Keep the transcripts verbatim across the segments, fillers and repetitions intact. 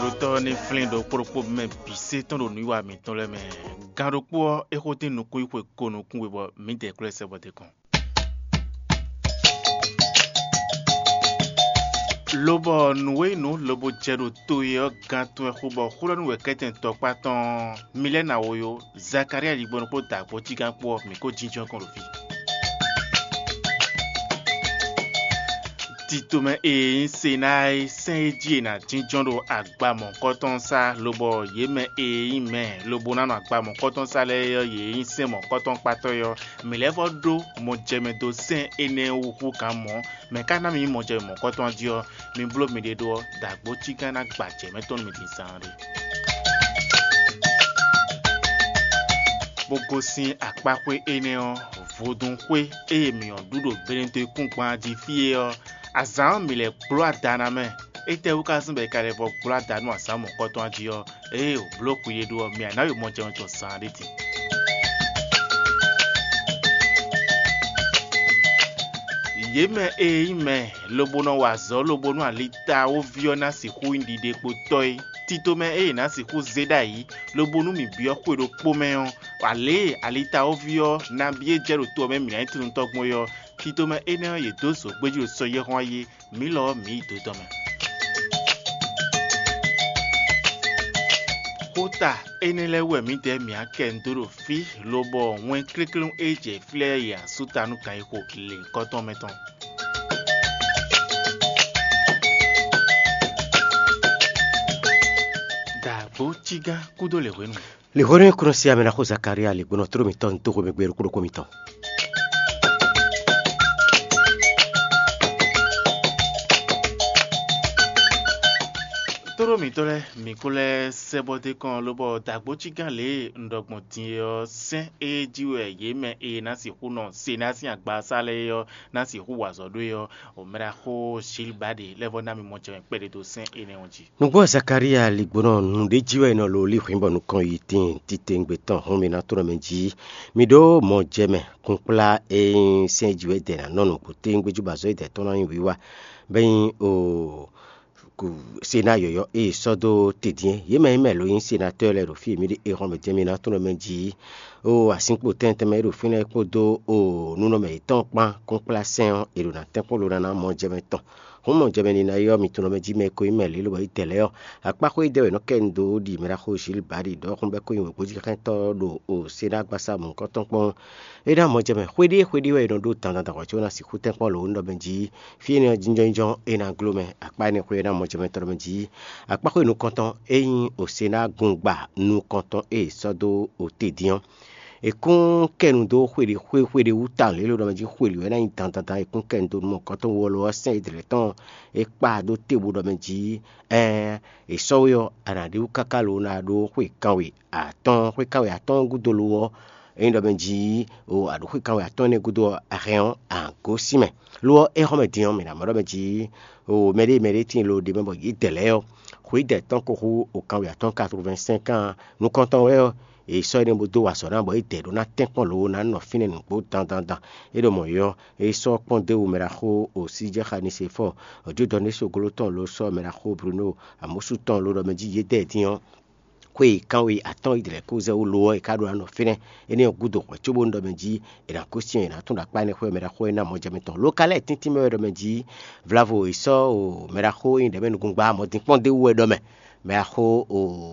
Ɖotɔ́ ɔ́ ní flín ɖokpó ɖokpó mɛ bǐ sé tɔn ɖo nǔwiwa mǐtɔn lɛ́ɛ mɛ. Gan ɖokpó ɔ́, é xo dín nukún yi xwe ko nukún we bɔ mǐdɛɛ klɔ́ ɛ sɛ bɔ d'é kɔn. Lobɔ nǔ e nyí nǔ lobo jɛ ɖo to e ɔ́ gantɔn wɛ xo bɔ xó ɖɔ nú wɛ̌kɛ́tɛn tɔkpá tɔn ɔ́, mi lɛ́ ná wo yó. Zakalía yigbɔnnu kpó dǎgbó cígán kpó ɔ́, mǐ ko jínjɔ́n kɔn ɖo fí. Titomɛ e nyí Senáa e sɛ́n e jí è nǎ jínjɔ́n ɖo agba mɔ̌hunkɔtɔn sá, lobɔ yě mɛ e nyí mɛ lobo ná nɔ agba mɔ̌hunkɔtɔn sá lɛ́ɛ ɔ́, yě nyí sɛ́n mɔ̌hunkɔtɔn kpátɔ́ é ɔ́, mǐ lɛ́ vɔ́ ɖó mɔjɛmɛ dó sɛ́n énɛ́ wú hú gǎn mɔ̌. Mɛ̌ ka ná mi nyí mɔjɛmɛ mɔ̌hunkɔtɔn ɔ́ jí ɔ́? Mi bló miɖée ɖó ɔ́, dǎgbó cígán ná gba jɛ̌ mɛ tɔn nú mi din zaanɖé. Bó gosín akpáxwé énɛ́ ɔ́, vodúnxwé e mǐ ɔ́ ɖu ɖo Benedekúngban jí fí é ɔ́, azǎn ɔ́ mǐ lɛ́ gbló ada ná mɛ. Étɛ́wú ka zɔ́n bɔ è ka lɛ́ vɔ gbló ada nú azǎn mɔ̌hunkɔtɔn ɔ́ jí ɔ́? Ée o bló xwi e ɖó ɔ́, mi a nǎ yi mɔjɛmɛ tɔn zaanɖé din. Yě mɛ e nyí mɛ, lobo nɔ wa azɔ̌ lobo nú alitawoví ɔ́ ná sixú nyí ɖiɖekpotɔ́ é. Titomɛ e è nǎ sixú zé ɖ'ayǐ, lobo nú mǐ byɔ́ xwe ɖokpó mɛ ɔ́, alě e alitawoví ɔ́ nabí e jɛ ɖo to ɔ́ mɛ mǐ ná nyí tunwunritɔ́ gbɔn é ɔ́, titomɛ énɛ́ ɔ́, yě dó zǒgbéjí ɖo sɔyɛ́hɔn ayé, mǐ lɔ ɔ́, mǐ yi do tɔn mɛ. Xóta énɛ́ lɛ́ɛ wú wɛ mǐdɛɛ mǐ á kɛ nǔ dó ɖo fí, lobɔ wɛn kléklé e jɛ fí lɛ́ɛ yi asú ta nú kan e xo lěhunkɔtɔn mɛ tɔn. Dǎgbó cígán kúdó lě hwenu. Lǐxónú e kúnɔ sí amɛ ná xó Zakalía lǐgbónɔ tló mǐtɔn dó xomɛ gbe ɖokpó ɖokpó mitɔn. Tóɖó mǐtɔn lɛ́ɛ, mǐ ko lɛ́ sɛ bɔ d'é kɔn lobɔ dǎgbó cígán lě e un ɖɔ gbɔn din é ɔ́, sɛ́n e jí wɛ yě mɛ e ná sixú nɔ se ná sín agbaza lɛ́ɛ é ɔ́ ná sixú wa azɔ̌ ɖó é ɔ́, o mɛɖaxó Zilbadi lɛ́ vɔ́ ná mi mɔ jɛ mɛ kpɛɖé dó sɛ́n énɛ́ ɔ́ jí. Nǔgbó Zakalía lǐgbónɔ nǔɖé jí wɛ è nɔ lo lí hwǐn bɔ nukɔn yi tíin titewungbe tɔn hɔn mǐ ná tló mɛ jí. Mi ɖó mɔ jɛ mɛ kunkplá e nyí sɛ́n jí wɛ dɛ ná nɔ nǔgbó téwúngbéjú bɔ azɔ̌ e dɛ tɔn ná nyí wiwa, bɔ é nyí o Sená yɔ̌yɔ́ e è sɔ́ dó te din é. Yě mɛ e mɛ lo nyí senatɔ́ lɛ́ɛ ɖo fí e mǐ ɖe é hɔn mɛ jɛ́n mǐ ná tló mɛ jí. O asínkpo tɛ́ntɛ́n mɛ e ɖo fínɛ́ kpódó o nǔnɔmɛ yětɔn kpán kúnkplá sɛ́n ɔ́, è ɖo ná tɛ́nkpɔ́n lo ná ná mɔ jɛ mɛ tɔn. Hǔn mɔ jɛ mɛ nina é ɔ́, mi tunɔ mɛ jí mɛ e ko nyí mɛ lě lobɔ é dɛ lɛ́ɛ ɔ́, akpáxwé dɛ́ wɛ nɔ kɛ nu dó ɖi mɛ ɖaxó Zilbadi ɖɔhun bɔ é ko nyí wěgbójíxɛ́ntɔ́ ɖo o Sená gbasá mɔ̌hunkɔtɔn kpɔ́n. É ná mɔ jɛ mɛ xwéɖée xwéɖée wɛ è nɔ ɖó dandan dǎnhwɛ có ná sixú tɛ́nkpɔ́n lo nú ɖɔ mɛ jí. Fí énɛ́ ɔ́ jínjɔ́n é ná gló mɛ. Akpá énɛ́ xwé ɔ́ ná mɔ jɛ mɛ tɔn mɛ jí. Akpá xwé nukɔntɔn é nyí Osená gungba nukɔntɔn e è sɔ́ dó ote dín ɔ́. È kún kɛ nu dó xwéɖé xwé xwéɖé wú tawun lě e ɖɔ mɛ jí xwéli wɛ é ná nyí dandandan è kún kɛ nu dó nú mɔ̌hunkɔtɔn wú ɔ́ lo ɔ́ sɛ́n é dlɛ̌ tɔn é kpa dó te bó ɖɔ mɛ jí. Ɛɛn è sɔ́ we ɔ́, a nǎ ɖe wú káká lo ná ɖó xwe kanwe atɔ́ɔ́n. Xwe kanwe atɔ́ɔ́n gúdo lo ɔ́, ényí ɖɔ mɛ jí o a ɖo xwe kanwe atɔ́ɔ́n énɛ́ gúdo ɔ́, a hɛn ɔ́, a gǒ sín mɛ. Lo ɔ́, é xɔ́ mɛ din ɔ́, mǐ ná mɔ ɖɔ mɛ jí o mɛɖée mɛɖée tíin lo ɖe mɛ bɔ yě dɛ lɛ́ɛ ɔ́, xwe dɛ tɔn ko xú o kanwe atɔ́ɔ́n quatre-vingt-cinq kan nukɔntɔn wɛ ɔ́, è sɔ́ énɛ́ bó dó wa azɔ̌ ná bɔ é dɛ ɖó ná tɛ́nkpɔ́n lo ná nɔ fínɛ́ nǔgbó dandandan. É ɖo mɔ̌ é ɔ́, é sɔ́ kpɔ́n dó wú mɛ ɖaxó o sí jɛ xa ní se fɔ ɔ̌ jó dɔ ní soglo tɔn lo sɔ́ mɛ ɖaxó Bruno Amosu tɔn lo ɖɔ mɛ jí yě dɛ din ɔ́, xwe kanwe atɔ́ɔ́n yi dlɛ̌ kó zɛ wú lo ɔ́, è ka ɖó ná nɔ fínɛ́. Énɛ́ ɔ́ gúdo hwɛ̌ cóbónú ɖɔ mɛ jí è nǎ gosín ɔ́, è nǎ tún ɖo akpá énɛ́ xwé mɛ ɖaxó énɛ́ amɔjɛmɛ tɔn. Lo ka lɛ́ɛ tíntín mɛ wɛ ɖɔ mɛ jí Vlavo e sɔ́ o mɛ ɖaxó e nyí ɖɛ̌mɛnugungba mɔdínkpɔ́n d'é wú wɛ ɖɔ mɛ. Mɛ axó o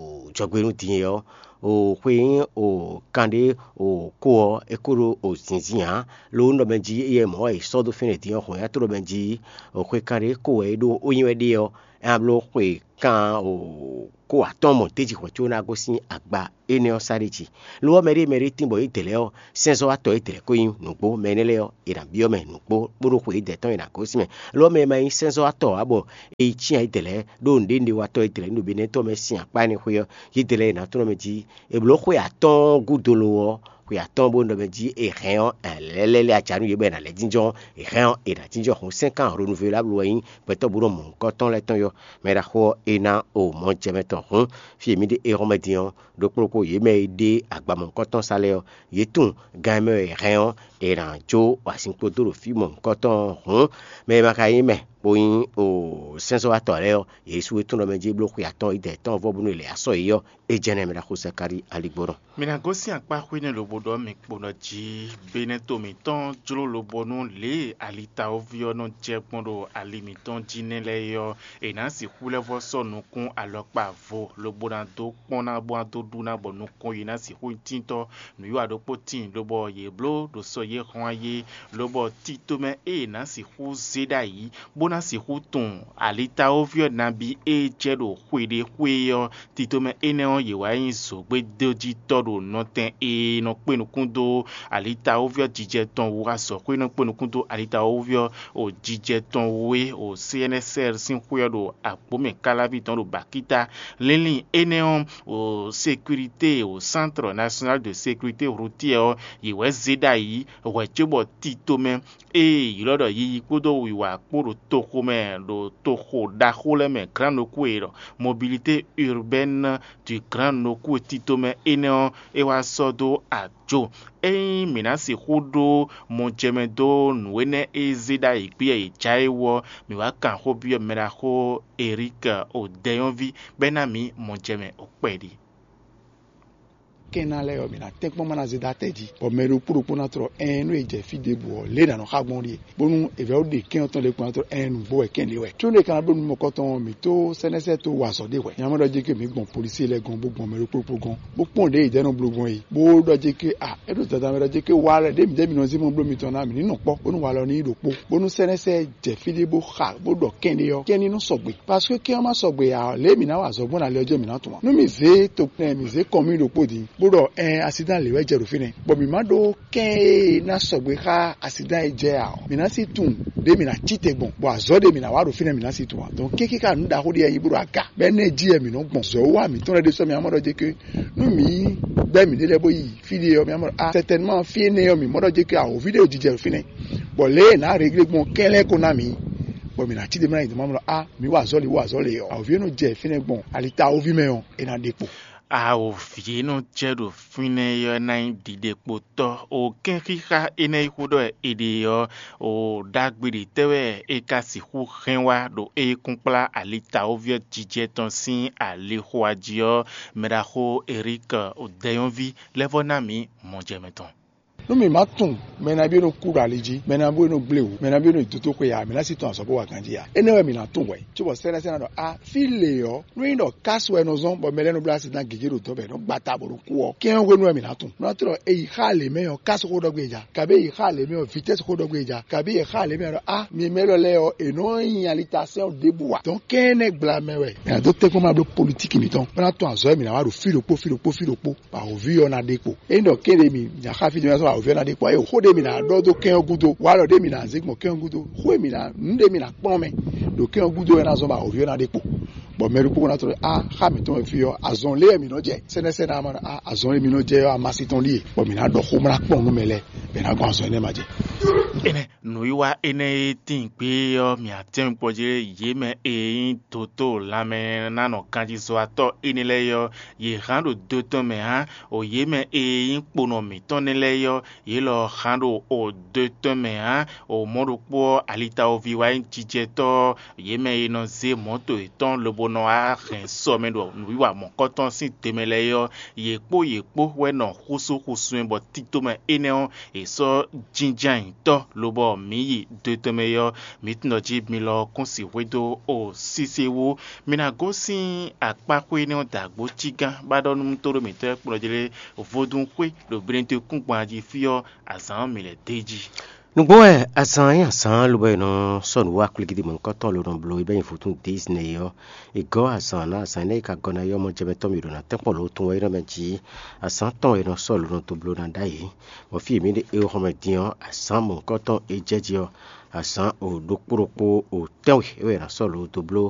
jɔgbe nú din e ɔ́, o xwe nyí o kanɖé o kó ɔ́, é kó ɖó o zǐnzín ǎ. Lo ɔ́, un ɖɔ mɛ jí éyɛ́ mɔ̌ wɛ è sɔ́ dó fínɛ́ din ɔ́, hɔn nyatóɖo mɛ jí o xwe kanɖé kó wɛ é ɖó ó nyí wɛ ɖe ɔ́, é ná bló xwe kan o kó atɔ́ɔ́n mɔ d'é jí hwɛ̌ có ná gosín agba énɛ́ ɔ́ sá ɖ'é jí. Lo ɔ́, mɛɖée mɛɖée tín bɔ é dlɛ̌ ɔ́, sɛ́nzɔ́watɔ́ é dlɛ̌ ko nyí nǔgbó. Mɛ énɛ́ lɛ́ɛ ɔ́, è nǎ byɔ́ mɛ nǔgbó bó ɖó xwe é dɛ tɔn è nǎ gosín mɛ. Lo ɔ́, mɛ e ma nyí sɛ́nzɔ́watɔ́ ǎ bɔ è yi cyán é dlɛ̌ ɖó nǔɖé nǔɖé wa tɔ́ é dlɛ̌ nú nǔbénɛ́tɔ́ mɛ sín akpá énɛ́ xwé ɔ́, yě dlɛ̌ è nǎ tlɔ́n mɛ jí. È blǒ xwe atɔ́ɔ́n gúdo lo ɔ́, xwe atɔ́ɔ́n bó ɖɔ mɛ jí è hɛn ɔ́, lɛ́lɛ́lɛ́ aca nú yě bɔ è nǎ lɛ́ jínjɔ́n, è hɛn ɔ́, è nǎ jínjɔ́n hǔn sɛ́n kan hlonuvéla bló wɛ nyí gbɛtɔ́ bó nɔ mɔ nǔkɔntɔn lɛ́ɛ tɔn yɔ́. Mɛ ɖaxó ɔ́, é ná o mɔ̌ jɛ mɛ tɔn hǔn, fí e mǐ ɖe é hɔn mɛ din ɔ́, ɖokpó ɖokpó yě mɛ e ɖe agba mɔ̌hunkɔtɔn sa lɛ́ɛ ɔ́, yě tunwun gan e mɛ wɛ è hɛn ɔ́, è nǎ jó azinkpo dó ɖo fí mɔ̌hunkɔtɔn ɔ́ hǔn, mɛ e ma ka nyí mɛ bó nyí o sɛ́nzɔ́watɔ́ lɛ́ɛ ɔ́, yě sú e tún ɖɔ mɛ jí bló xwe atɔn idɛ tɔn vɔ bónú è lɛ asɔ yě ɔ́, é jɛ́nɛ mɛ ɖaxó Sakáli aligbɔnɔ. Mi ná gosín akpá xwé nɛ́ lobo ɖɔ mi kpo ɖɔ jí, benɛ́ to mǐtɔn jló lobo nú lě e alitawoví ɔ́ nɔ jɛ gbɔn ɖo ali mǐtɔn jí nɛ́ lɛ́ɛ é ɔ́, è nǎ sixú lɛ́ vɔ́ sɔ́ nukún alɔkpa vo lobo ná dó kpɔ́n ná bó ná dó ɖu ná bɔ nukɔn yi ná sixú nyí tíntɔ́. Nǔwiwa ɖokpó tíin lobɔ yě bló ɖo sɔ yě hɔn ayé, lobɔ tito mɛ e è nǎ sixú zé ɖ'ayǐ bó ná sixú tunwun alitawoví ɔ́ nabí e jɛ ɖo xwe ɖé xwé ɔ́, tito mɛ énɛ́ ɔ́, yě wá nyí zǒgbédójítɔ́ ɖo nɔtɛn e nɔ kpé nukún dó alitawoví ɔ́ jijɛ tɔn wú, azɔ̌xwé e nɔ kpé nukún dó alitawoví ɔ́ o jijɛ tɔn wú é o C N S R sín xwé ɔ́ ɖo agbǒmɛ káláví tɔn ɖo Bakíta. Línlín énɛ́ ɔ́, o sécurité, o Centre National de Sécurité Routière ɔ́, yě wɛ zé ɖ'ayǐ hwɛ̌ cóbɔ tito mɛ e è ylɔ́ ɖɔ yiyi kpódó wiwa kpó ɖo toxo mɛ ɖo toxo ɖaxó lɛ́ɛ mɛ Grand Nokú e ɖɔ Mobilité Urbaine du Grand Nokú tito mɛ énɛ́ ɔ́, é wá sɔ́ dó ajo. Ényí mǐ ná sixú ɖó mɔjɛmɛ dó nǔ énɛ́ e zé ɖ'ayǐ gbé e è jǎ é wú ɔ́, mǐ wá kan xó byɔ́ mɛɖaxó Erík Odɛ́nyɔ́ví bɔ é ná mǐ mɔjɛmɛ ɔ́ kpɛɖé. Kɛ́n ná lɛ́ɛ ɔ́, mǐ ná tɛ́nkpɔ́n má ná zé dó atɛ jí, bɔ mɛ ɖokpó ɖokpó ná tlɔ ɛɛn nú è jɛ fí ɖěbǔ ɔ́, lě è nǎ nɔ xá gbɔn ɔ́ ɖíe, bónú è vɛ́ ɖe kɛ́n ɔ́ tɔn ɖé kpɔ́n ná tlɔ ɛɛn nǔgbó wɛ kɛ́n ɖě wɛ. Có nú è ka ná bló nǔ mɔ̌kɔtɔn ɔ́, mǐ tó sɛ́nɛ́sɛ́ tó wa azɔ̌ ɖé hwɛ̌. Nya mɔ ɖɔ jí ké mǐ gbɔn polisí lɛ́ɛ gɔ́n bó gbɔn mɛ ɖokpó ɖokpó gɔ́n, bó kpɔ́n ɖě è jɛ nɔ bló gbɔn é, bó ɖɔ jí ké a é ɖo dada mɛ ɖɔ jí ké wa lɛ ɖě mǐ jɛ mǐ nɔ zé mɔ bló mitɔn ná mǐ ní nɔ kpɔ́, bónú wa lɔ ní yi ɖokpó, bónú sɛ́nɛ́sɛ́ jɛ fí ɖé bó xa bó ɖɔ kɛ́n ɖé ɔ́, kɛ́n ní nɔ sɔgbe. Parce que kɛ́n ɔ́ má sɔgbe ǎ ɔ́, lě e mǐ ná wa azɔ̌ gbɔn ná lɛ ɔ́ jɛ mǐ ná tunwun ǎ. Nú mǐ zé tokpɛn mǐ zé kɔn mì ɖokpó din, bó ɖɔ ɛn asidán lě wɛ jɛ ɖo fínɛ́, bɔ mǐ má ɖó kɛ́n e ná sɔgbe xá asidán e jɛ ǎ ɔ́, mǐ ná sí tunwun ɖě mǐ ná cí te gbɔn, bɔ azɔ̌ ɖě mǐ ná wa ɖo fínɛ́ mǐ ná sí tunwun ǎ. Donc kéké ká nǔ ɖaxó ɖé yɛ nyí bó ɖo aga, bɔ énɛ́ jí wɛ mǐ nɔ gbɔn. Zɔ̌ wa mǐtɔn lɛ́ɛ ɖésú mǐ ná mɔ ɖɔ jɛ ké nú mǐ gbɛ́ mǐɖée lɛ́ɛ bó yi fí ɖé ɔ́, mǐ ná mɔ ɖɔ a sɛtɛnman fí énɛ́ ɔ́, mǐ mɔ ɖɔ jɛ ké awǒvi ɖé jijɛ ɖo fínɛ́, bɔ lě e è nǎ réglé gbɔn kɛ́n lɛ́ɛ ko ná mǐ, bɔ mǐ ná cí ɖe mɛ ná yi dɔ̌n mɔ ɖɔ a mǐ wa azɔ̌ lě, wa azɔ̌ lě ɔ́, awǒvi e nɔ jɛ fínɛ́ gbɔn alitáwóví mɛ ɔ́, é ná ɖe kpo. Awǒvi e nɔ jɛ ɖo fínɛ́ ɔ́ ná nyí ɖiɖekpotɔ́. O kɛ́nxíxá énɛ́ e xó ɖɔ è ɖe ɔ́, o ɖagbe ɖě tɛ́ wɛ è ka sixú hɛn wá ɖo é kúnkplá alitawóví ɔ́ jijɛ tɔn sín alixo jí ɔ́, mɛɖaxó Erík Odɛ́nyɔ́ví lɛ́ vɔ́ ná mǐ mɔjɛmɛ tɔn. Nú mǐ má tunwun mɛ nabí e nɔ kú ɖo ali jí, mɛ nabí e nɔ gblé wǔ, mɛ nabí e nɔ yi dotóxwe ǎ, mǐ ná sí tɔn azɔ̌ bó wa ganjí ǎ. Énɛ́ wɛ mǐ ná tunwun hwɛ̌, cóbɔ sɛ́nɛ́sɛ́nɛ ɖɔ a fí lě ɔ́, nú nyí ɖɔ kásu wɛ è nɔ zɔ́n bɔ mɛ lɛ́ɛ nɔ bló asidán gěgé ɖo dɔ̌n bɔ è nɔ gba ta bɔ è nɔ kú ɔ́, kɛ́n ɔ́ hwenu wɛ mǐ ná tunwun. Nú ná tlɔ è yi xá lě mɛ ɔ́, kásu xó ɖɔ gbé è ja, kabí è yi xá lě mɛ ɔ́, vitɛ́si xó ɖɔ gbé è ja, kabí è xá lě mɛ ɔ́ ɖɔ a mi mɛ élɔ́ lɛ́ɛ ɔ́, è nɔ nyi alitasɛ́n ɔ́ ɖěbǔ ǎ. Dɔ̌n kɛ́n énɛ́ gbla mɛ wɛ è nǎ dó tɛ́nkpɔ́n ma bló politíki mǐtɔn, bó ná tunwun azɔ̌ e mǐ ná wa ɖo fí ɖokpó fí ɖokpó fí ɖokpó. Bɔ awǒvi ɔ́ ná ɖe kpo. Ényí ɖɔ kéɖe mi nya xá fí dó mɛ sɔ́ awǒvi ɔ́ ná ɖe kpo. Ayé xó ɖé mi ná ɖɔ dó kɛn ɔ́ gúdo, walɔ ɖé mi ná zé gbɔn kɛn ɔ́ gúdo, xó e mi ná nǔ ɖé mi ná kplɔ́n mɛ ɖo kɛn ɔ́ gúdo wɛ ná zɔ́n bɔ awǒvi ɔ́ ná ɖe kpo. Bɔ mɛ ɖokpó ná tlɔ á xá mǐtɔn e fí ɔ́, azɔn lé wɛ mǐ nɔ jɛ. Sɛ́nɛ́sɛ́nɛ ɔ́ má ɖɔ á azɔn e mi nɔ jɛ ɔ́, amasi tɔn ɖíe, bɔ mǐ ná ɖɔ xó bó ná kplɔ́n nǔ mɛ lɛ́ɛ, bɔ è nǎ gbɔn azɔn énɛ́ ma jɛ. Énɛ́ nǔwiwa énɛ́ e tíin gbé ɔ́, mì atɛ́nkpɔ́ jí yě mɛ e nyí dotó lanmɛnánɔganjízɔ́watɔ́ énɛ́ lɛ́ɛ ɔ́, yě hán ɖo do tɔn mɛ ǎ. O yě mɛ e nyí kponɔ mǐtɔn nɛ́ lɛ́ɛ ɔ́, yě lɔ hán ɖo o do tɔn mɛ ǎ. O mɔ̌ ɖokpó ɔ́, alitawoví wá nyí jijɛtɔ́ ɔ́, yě mɛ e nɔ zé mɔ̌to yětɔn lobo nɔ wá hɛn sɔ mɛ ɖo nǔwiwa mɔ̌kɔtɔn sín te mɛ lɛ́ɛ ɔ́, yě kpó yě kpó wɛ nɔ xúsú xúsú ɛ bɔ tito mɛ énɛ́ ɔ́, è sɔ́ jínjɔ́n ayǐ tɔ́ lobɔ mǐ yi do tɔn mɛ ɔ́, mǐ tunwun ɖɔ jí mi lɔ kún sixwé dó o sísé wú. Mi ná gosín akpáxwé énɛ́ ɔ́ dǎgbó cígán bá ɖɔ nú tóɖó mǐtɔn e kplɔ́n jí lé vodún xwé ɖo Benɛtɔ́ kúngban jí fí ɔ́, azǎn ɔ́ mǐ lɛ́ d'é jí. Nǔgbó wɛ azǎn nyí azǎn lobɔ è nɔ sɔ́ nǔ wá kwlígídí mɔ̌hunkɔtɔn ló nɔ bló é bɛ́ nyi vodún dǐsnɛ́ é ɔ́. È gɔ́ azǎn ná azǎn énɛ́ e ka gɔ́ ná é ɔ́, mɔjɛmɛtɔ́ mǐ ɖo ná tɛ́nkpɔ́n lǒ tun wɛ é nɔ mɛ jí. Azǎn tɔn e nɔ sɔ́ lǒ nɔ dó bló ná ɖ'ayǐ. Bɔ fí e mǐ ɖe é xɔmɛ din ɔ́, azǎn mɔ̌hunkɔtɔn e jɛ jí ɔ́, azǎn o ɖokpó ɖokpó o tɛ́nwe é wɛ è nǎ sɔ́ lǒ dó bló